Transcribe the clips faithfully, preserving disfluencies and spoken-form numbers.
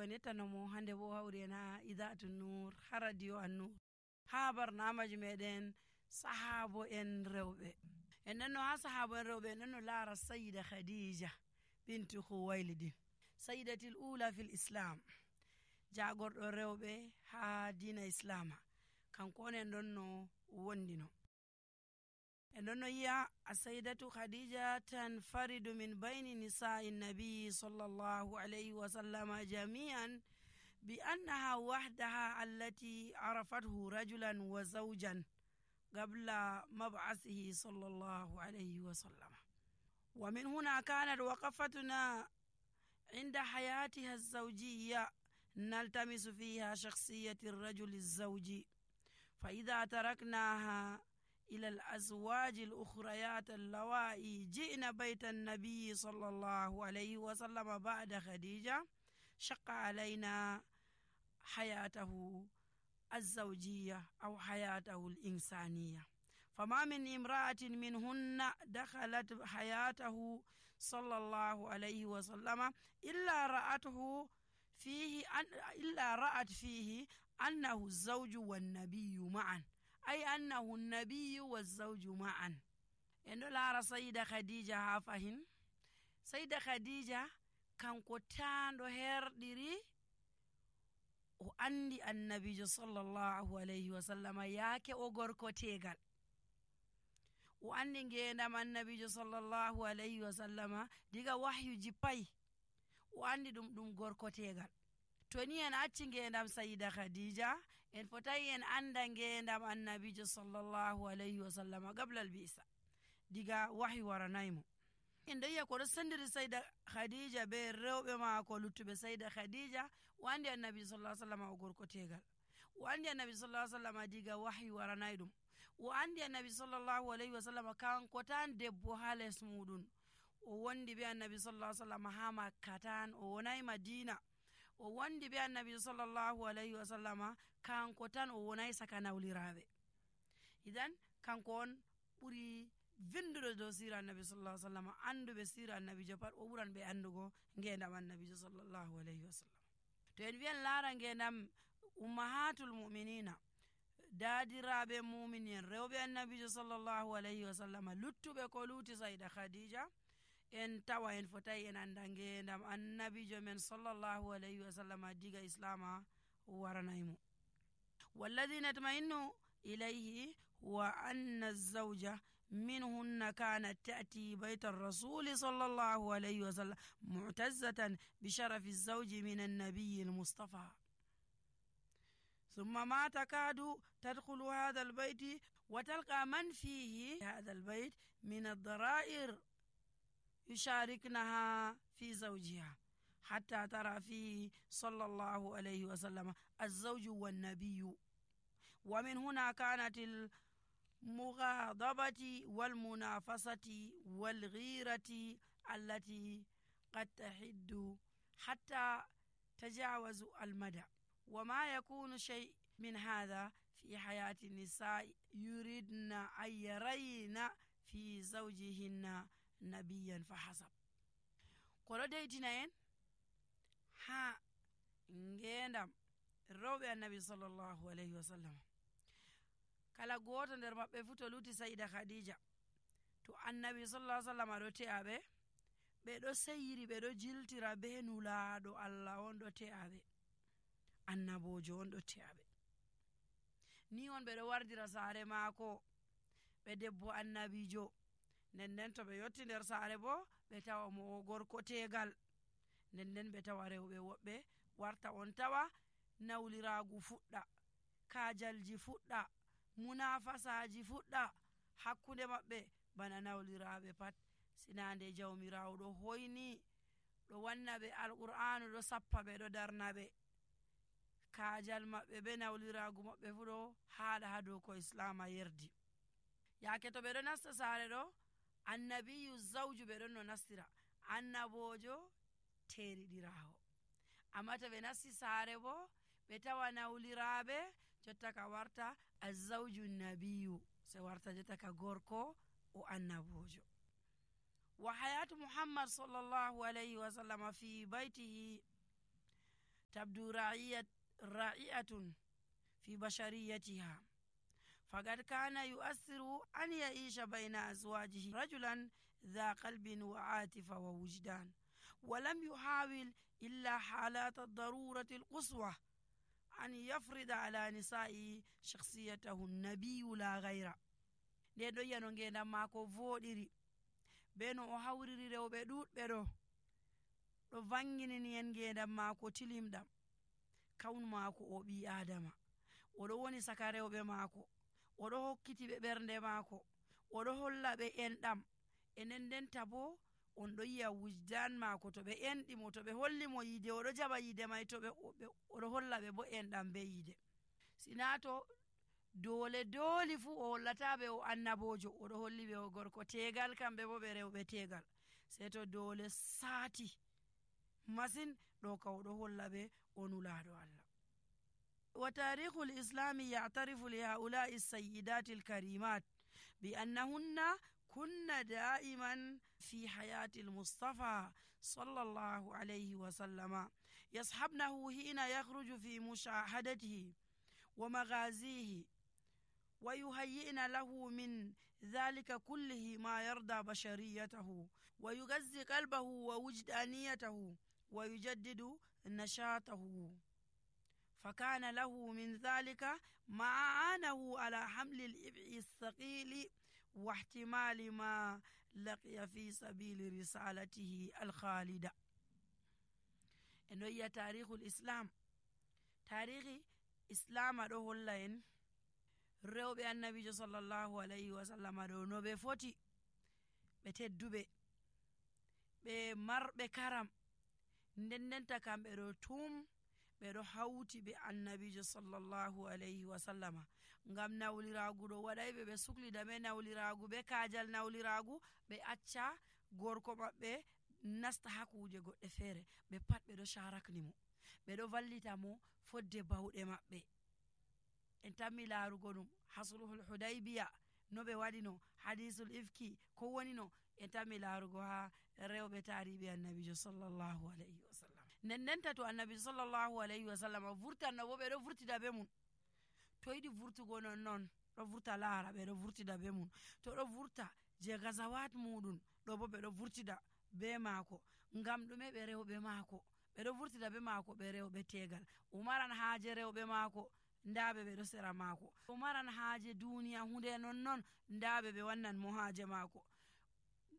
on yettanomo hande bo hawri en ha Idaatu Nur ha radio An-Nur ha barnamaji meɗen sahabo en rewɓe. En nanno ha sahabo en rewɓe en nanno laara Sayyida Khadija bintu Khuwaylid, sayyidatil ula fil islam, jagorɗo rewɓe ha dina islama. Kanko on en ɗonno wondino. En ɗonno yi'a as-sayyidatu Khadija tanfaridu min bayni nisa'i nabi sallallahu alayhi wa sallama jami'an bi annaha wahdaha allati arafathu rajulan wa zawjan qabla mab'athihi sallallahu alayhi wa sallam. Wa min huna kanat waqafatuna inda hayatiha az-zawjiyya naltamisu fiha shakhsiyyati ar-rajul az-zawji. fa idha taraknaha إلى الأزواج الأخريات اللوائي جئنا بيت النبي صلى الله عليه وسلم بعد خديجة شق علينا حياته الزوجية أو حياته الإنسانية. فما من امرأة منهن دخلت حياته صلى الله عليه وسلم إلا رأته فيه أن إلا رأت فيه أنه الزوج والنبي معا، أي أنه النبي والزوج معا. إنه لا سيدة خديجة هافهن سيدة خديجة كان قطان هير ديري وأندي النبي صلى الله عليه وسلم ياكي أغور كوتيغال وأندي نجينا النبي صلى الله عليه وسلم ديغا وحي جيباي وأندي دم دم غور كوتيغال. Toni en acci ngendam Sayyida Khadija en fotai en anda ngendam annabijo sallallahu alayhi wa sallam qabla al-bi'sa, diga wahyi waranaymo. En dayya ko sandiri Sayyida Khadija be rewbe ma ko luttube Sayyida Khadija wandi annabi sallallahu alayhi wa sallam o gorko tegal, wandi annabi sallallahu alayhi wa sallam diga wahyi waranaydum, wandi annabi sallallahu alayhi wa sallam kan ko tan debbo hales mudun o wondi be annabi sallallahu alayhi wa sallam ha Makkatan o wonay Madina o wandi be annabi sallallahu alayhi wa sallama kanko tan o wonay saka nawliraɓe. Idan kanko on ɓuri vindude dow sira annabi sallallahu alayhi wa sallam, anduɓe sira annabi jo pat o ɓuran ɓe andugo ngendam annabi jo sallallahu alayhi wa sallam. To en wiyan laara ngendam ummahatul mu'minina, dadiraɓe mu'minin rewɓe annabi jo sallallahu alayhi wa sallam, luttuɓe ko luti Sayyida Khadija, en tawa en fotai en anda ngendam annabijo men sallallahu alayhi wa sallam diga islama waranaymo. والذي نطمئن إليه هو أن الزوجة منهن كانت تأتي بيت الرسول صلى الله عليه وسلم معتزة بشرف الزوج من النبي المصطفى، ثم ما تكاد تدخل هذا البيت وتلقى من فيه هذا البيت من الضرائر يشاركنها في زوجها حتى ترى فيه صلى الله عليه وسلم الزوج والنبي. ومن هنا كانت المغاضبة والمنافسة والغيرة التي قد تحد حتى تجاوز المدى. وما يكون شيء من هذا في حياة النساء يريدن أن يرين في زوجهن نبيا فحسب. kono deytina en ha ngendam rewɓe annabi sallallahu alayhi wa sallam, kala goto nder maɓɓe fu to luti Sayyida Khadija, to annabi sallallahu alayhi wa sallam ɗo te'aɓe, ɓe ɗo seyiri ɓe ɗo jiltira be nulaɗo Allah on ɗo te'aɓe, annabojo on ɗo te'aɓe. Ni on ɓe ɗo wardira saare maako ɓe debbo annabijo, nden nden to ɓe yotti nder saare bo ɓe tawa mo gorko tegal, nden nden ɓe tawa rewɓe woɓɓe warta on tawa nawliragu fuɗɗa, kajalji fuɗɗa, munafasaji fuɗɗa hakkunde maɓɓe bana nawliraɓe pat, sinande jawmirawo ɗo hoyni ɗo wanna ɓe alqur'anu ɗo sappa ɓe ɗo darna ɓe, kajal maɓɓe be nawliragu maɓɓe fu ɗo haɗa ha dow ko islama yerdi. Yake to ɓe ɗo nasta saare ɗo, annabiyu zawju ɓe ɗon no nastira, annabojo teriɗirawo. Amma to ɓe nasti saare bo ɓe tawa nawliraɓe, jotta ka warta azawju nabiyu, se warta jotta ka gorko o annabojo. Wa hayatu Muhammad sallallahu alayhi wa sallam fi baytihi تبدو رائعة رائعة في بشريتها، فقد كان يؤثر أن يعيش بين أزواجه رجلا ذا قلب وعاطفة ووجدان، ولم يحاول إلا حالات الضرورة القصوى أن يفرض على نسائه شخصيته النبي لا غير. nde ɗo yano ngendam maako voɗiri be no o hawriri rewɓe ɗuɗɓe ɗo ɗo vanginini en ngendam maako tilimɗam. kawnu maako o ɓi adama, oɗo woni saka rewɓe maako, oɗo hokkiti ɓe ɓernde maako, oɗo holla ɓe enɗam, e nden ndenta bo on ɗo yi'a wujdan maako to ɓe enɗimo, to ɓe holli mo yide oɗo jaɓa yide may, to ɓe oɗo holla ɓe bo enɗam be yide. sina to dole dooli fuu o hollataɓe o annabojo, oɗo holli ɓe o gorko tegal, kamɓe bo ɓe rewɓe tegal, sei to dole saati masin ɗo ka oɗo holla ɓe o nulaɗo Allah. wa tarihu lislami ya'tarifu li haula'i sayyidati alkarimat bi annahunna kunna da'iman fi hayati almustafa sallallahu alayhi wa sallama yashabnahu hina yakhruju fi mushahadatihi wa maghazihi wa yuhayyi'na lahu min dhalika kullihi ma yarda bashariyatahu wa yughazzi qalbahu wa wujdaniyatahu wa yujaddidu nashatahu. فكان له من ذلك ما أعانه على حمل الإبع الثقيل واحتمال ما لقي في سبيل رسالته الخالدة. إنه هي تاريخ الإسلام، تاريخ إسلام أدوه اللين ريو النبي صلى الله عليه وسلم أدوه نوبي فوتي بتدوبي بمر بكرم ندن تكام بدو توم ɓeɗo hawti ɓe annabijo sallallahu alayhi wa sallama ngam nawliragu ɗo waɗayɓe ɓe suklida be nawliragu be kajal nawliragu ɓe acca gorko maɓɓe nasta ha kuje goɗɗe feere, ɓe pat ɓeɗo sharakni mo, ɓeɗo vallita mo fodde bawɗe maɓɓe. en tammi larugo ɗum hasulhul hudaybiya no ɓe waɗino, hadisul ifki ko woni no, en tammi larugo ha rewɓe tariɓe annabijo sallallahu alayhi wa sallam. nden ndenta to annabi sallallahu alayhi wa sallam vurtanno bo ɓeɗo vurtida be mum, to yiɗi vurtugo non non ɗo vurta laara ɓeɗo vurtida be mum, to ɗo vurta je gazawat muɗum ɗo bo ɓeɗo vurtida be maako, ngam ɗume ɓe rewɓe maako, ɓeɗo vurtida be maako ɓe rewɓe tegal, umaran haaje rewɓe maako ndaɓe ɓeɗo sera maako, umaran haaje duniya hunde non non ndaɓe ɓe wannan mo haaje maako,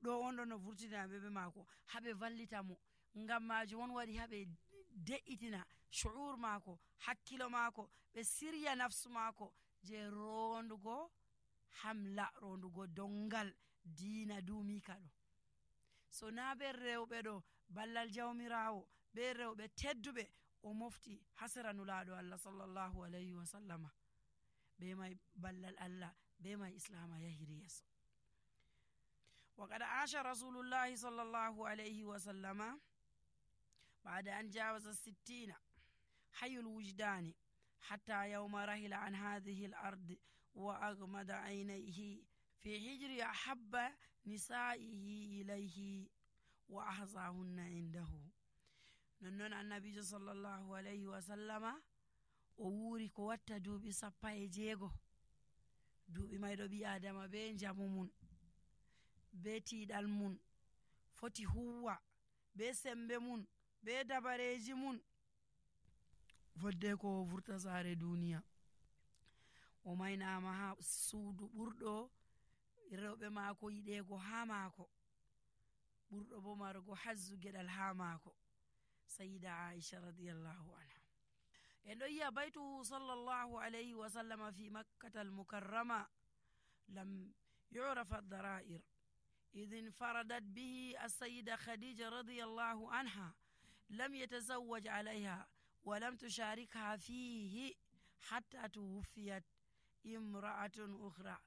ɗo on ɗo no vurtinaɓe be maako haɓe vallita mo. ngam majum on waɗi haɓe de'itina shu'ur maako, hakkilo maako, ɓe sirya nafsu maako je rondugo hamla, rondugo dongal diina dumika ɗo. so na be rewɓe ɗo ballal jawmirawo be rewɓe tedduɓe o mofti hasera nulaɗo Allah sallallahu alayhi wa sallama, be may ballal Allah be may islama yahiri yeso. وقد عاش رسول الله صلى الله عليه وسلم بعد أن جاوز الستين حي الوجدان حتى يوم رحل عن هذه الأرض وأغمد عينيه في حجر أحب نسائه إليه وأحظاهن عنده. ننون النبي صلى الله عليه وسلم ووري ko watta duuɓi sappa e jeego, duuɓi mayɗo ɓi adama be njamu mun be tiiɗal mun foti huwa be sembe mun be dabareji mun, fodde ko vurta saare duniya. o maynama ha suudu ɓurɗo rewɓe maako yiɗego ha maako, ɓurɗo bo marugo hazzu geɗal ha maako, sayida Aisha radiyallahu anha. en ɗo yi'a baytuhu sallallahu alayhi wa sallama fi makkata almukarrama lam yu'raf ad-dara'ir إذ انفردت به السيدة خديجة رضي الله عنها، لم يتزوج عليها ولم تشاركها فيه حتى توفيت امرأة أخرى،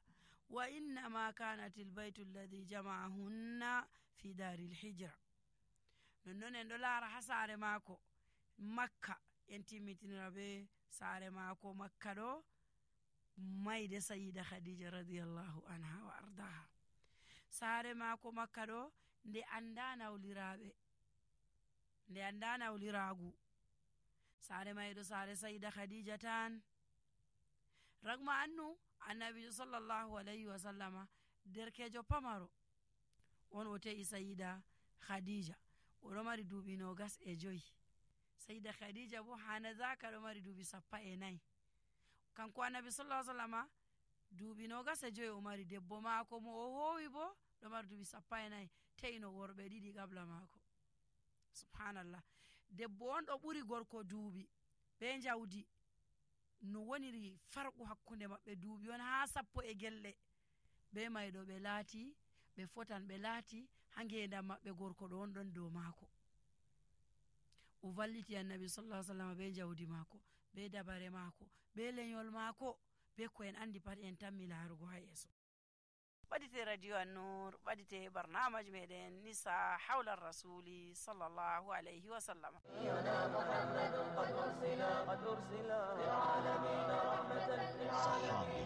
وإنما كانت البيت الذي جمعهن في دار الحجرة. ننون en ɗo laara ha saare maako makka, en timmitinira be saare maako makka ɗo mayde sayida khadija radiyallahu anha wa ardaha. saare maako makka ɗo nde anda nawliraɓe, nde anda nawliragu, saare mayɗo saare sayida khadija tan. ragma annu annabijo sallallahu alayhi wa sallama derkejo pamaro on o te'i sayida khadija, oɗo mari duuɓi nogas e joyi. sayida khadija bo hanazaka ɗo mari duuɓi sappa e nayi. kanko annabi sallallahu alaihi wasallama duuɓi nogas e joyi o mari. debbo maako mo o hoowi bo ɗo mari duuɓi sappa e nayi, te'ino worɓe ɗiɗi qabla maako. subhanallah, debbo on ɗo ɓuri gorko duuɓi be jawdi, no woniri farqu hakkunde maɓɓe duuɓi on haa sappo e gelɗe. be mayɗo ɓe laati ɓe fotan, ɓe laati ha ngendam maɓɓe gorko ɗo on ɗon dow maako. o valliti annabi sallallahu alaihi wasallam be jawdi maako, be dabare maako, be lenyol maako, be ko en andi pat en tammi laarugo ha yeeso. ɓadite radio an-nur, ɓadite barnamaji meɗen nisa hawla rasuli sallallahu alayhi wa sallam.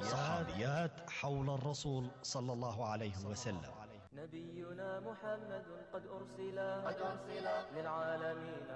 صحابيات حول الرسول صلى الله عليه وسلم. نبينا محمد قد أرسل للعالمين